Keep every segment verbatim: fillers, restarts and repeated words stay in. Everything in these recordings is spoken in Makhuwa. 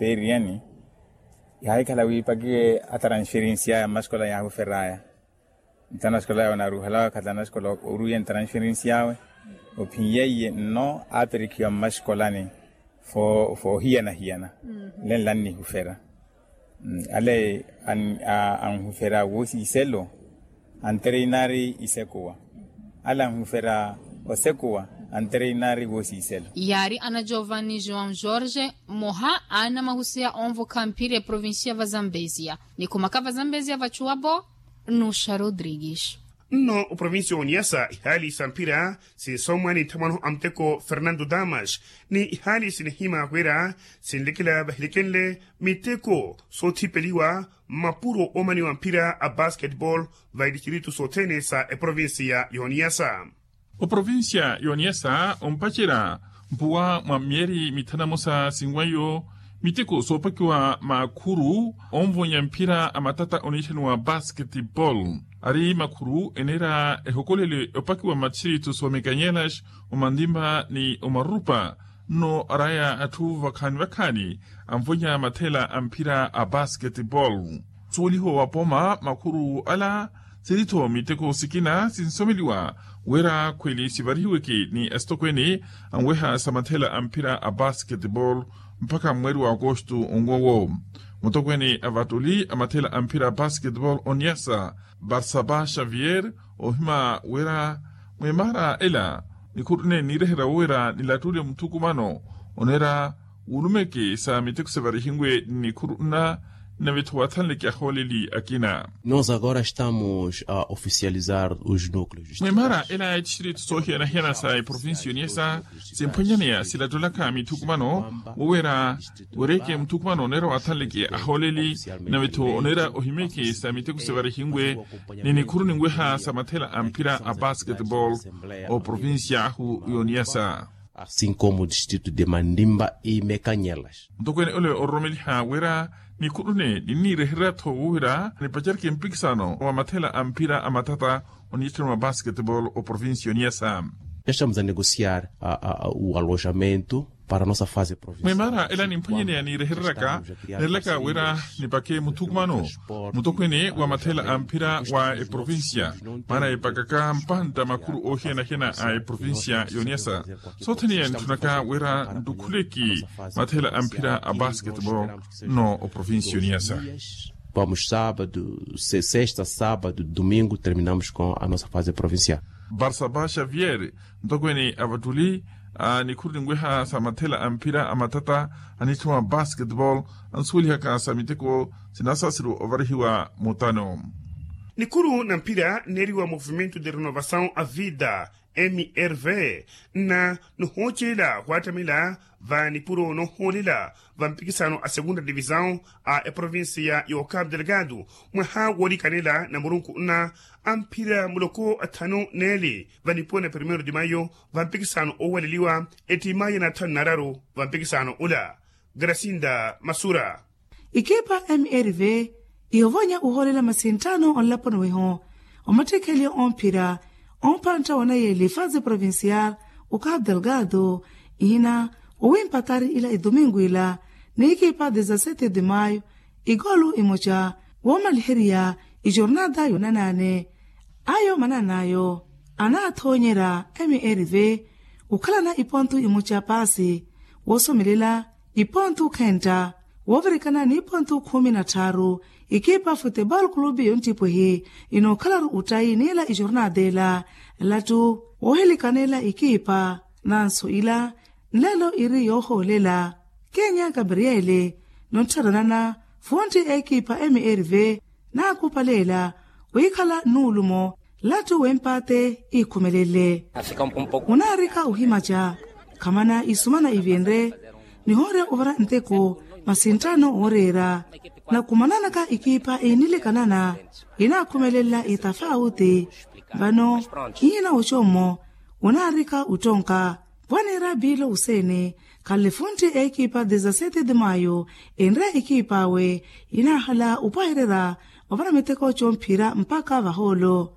Teeriyani yaahikhala wiipakiwe atransferensi aya mmaskola yaahufer'aya. Nta naskola yawe onaaruhelawe khatana naskola oruwiya ntransferensi yawe ophin'yeiye nno aaperikhiwa mmaskolani foohiyana-hiyana. Lenla annihufera ale anhufera woosiiselo antereinari isekuwa ale anhufera osekuwa antereinari woosiiselo. Yaari ana giovanni joão jorge mmoha a anamahusiha onvokha mphira eprovincia va zambezia. Nikhumaka va zambezia vachuwapo nusha rodrigues. Nno oprovincia oniyasa ihaali sa mphira sinsommwa ni nthamwano a muteko fernando damas ni ihaali sinihima wira sinlekela vahilikenle miteko soothipeliwa mmapuro oomaniwa mphira a basketball va itixirito sothene sa eprovincia y'oniyasa. Oprovincia y'oniyasa ompacerya mpuwa mwa myeeri mithanu na mosa sinwaiyo miteko soopakiwa makhuru onvonya mphira a matata oniixaniwa basketball. Ari makhuru eneera ehokolele opakiwa mmatixirito soomekanyelas omantimba ni omarurupa nno araya atthu vakhaani vakhaani anvonya mathela a mphira a basketball. Nsuweliho wa pooma makhuru ala siri-tho miteko sikina sinsomeliwa wira khweli sivarihiweke ni asitokweene anweha sa mathela a mphira a basketball mpakha mweeri wa akosto onwowo. Mutokweene a vatoli a mathela a mphira a basketball oniyasa barsaba xavier ohima wira mwimaara ela nikhuru nne niireherya wira nilattule muthukumano oneera wulumeke sa miteko sivarihiwe ni nikhuru nna nave-tho wathanleke ahooleli akina. Nos agora estamos a oficializar os núcleos. Mwimaara ela ya tixirito soohiyana-hiyana sa eprovincia oniyasa simphwanyaneya silattulaka mithukumano wowira wereke muthukumano oneera wathanleke ahooleli nave-tho oneera ohimeke sa miteko sivarihiwe ni nikhuru ninweha sa mathela a mphira a basketball oprovincia ahu y'oniyasa. Asin como distrito de mandimba e mekanyelas. Ntokweene ole ororomeliha wira nikhuru nne ninniireherya-tho wira nipacereke mpikisano wa mathela a mphira a matata oniixettana mwa basketball oprovincia oniyasa. Estamos a negociar o alojamento para nossa fase provincial. Mwimaara ela nimphwanyaneya niirehereryaka neerelaka wira nipake muthukumano mutokweene wa mathela a mphira wa eprovincia maana epakaka mpantta makhuru oohiyana-hiyana a eprovincia y'oniyasa. Sothene yanitthunaka wira ntukhuleki mathela a mphira a basketball nno oprovincia y'oniyasa. Vamos sábado, sesta sábado domingo terminamos com a nossa fase provincial. Barsaba xavier ntokweene a vattuli a nikhuru ninweha sa mathela a mphira a matata anitthiwa basketball ansuwelihaka sa miteko sinasasiru ovarihiwa mutano. Nikhuru na mphira nneeriwa movimento de renovação a vida mrv nna nihoocelela khwattamela va nipuro noohoolela va mpikisano a segunda divisão a eprovincia y'ocapo delgado mwaha woolikanela na murunku nna a mphira muloko athanu neeli va nipuwa na primeiro de maio va mpikisano oowaleliwa ettimayi ya nathanu nararu va mpikisano ula. Grasinda masura. Ikipa mrv ihovonya uhoolela masintano onlaponi weho omattikhelyo omphira ompantta wanayeeli fase provincial o capo delgado ihina owimpatari ila idomingo ila n'ikipa dezasete de maio ikolu imoca woomaliheriya ijornada yoonanaane. Ayo mananaayo anaathoonyerya mrv okhalana ipontu imoca paasi woosomelela ipontu khenta woovirikana n'ipontu khumi na tthaaru. Ikipa futebol clube yonttipwehi inookhalaru ottayi n'ila ijornada ela lattu woohilikanela ikipa nanso ila nlelo iri yoohoolela kenya gabriele nottharanana funtti ekipa mrv naakupaleela wiikhala nnuulumo lattu w'empaate iikhumelele. Munaarika ohimaca khamana isumana ivinre nihoorya ovara nteko masinttano ooreera nakumananaka ikipa iinilikanana inaakhumelela itafauti vano iina ocommo unaarika ottonka vwaniira biilo useeni khanle funtti ekipa dezasete de maio enre ekip'awe inaahala opwahererya ovara miteko comphira mpakha vahoolo.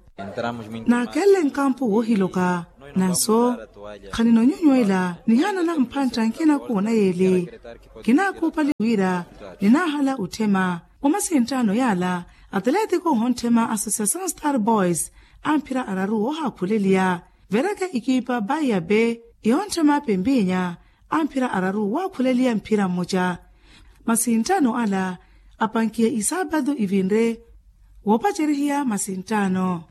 Naakenle nkampu woohiloka Nanso khaninoonyonywela nihaanana mphantta nkina kuuna yeeli. Kinaakhuupali wira ninaahala otthema. Omasinttaano yaala atleetiko ohonttema association star boys amphira araru woohaakhuleliya. Vereke ikiipa baiya be ihontthema pempinya amphira araru wookhuleliya mphira mmoca. Masinttaano ala apankiye isaapatu ivinre woopacerihiya masinttaano.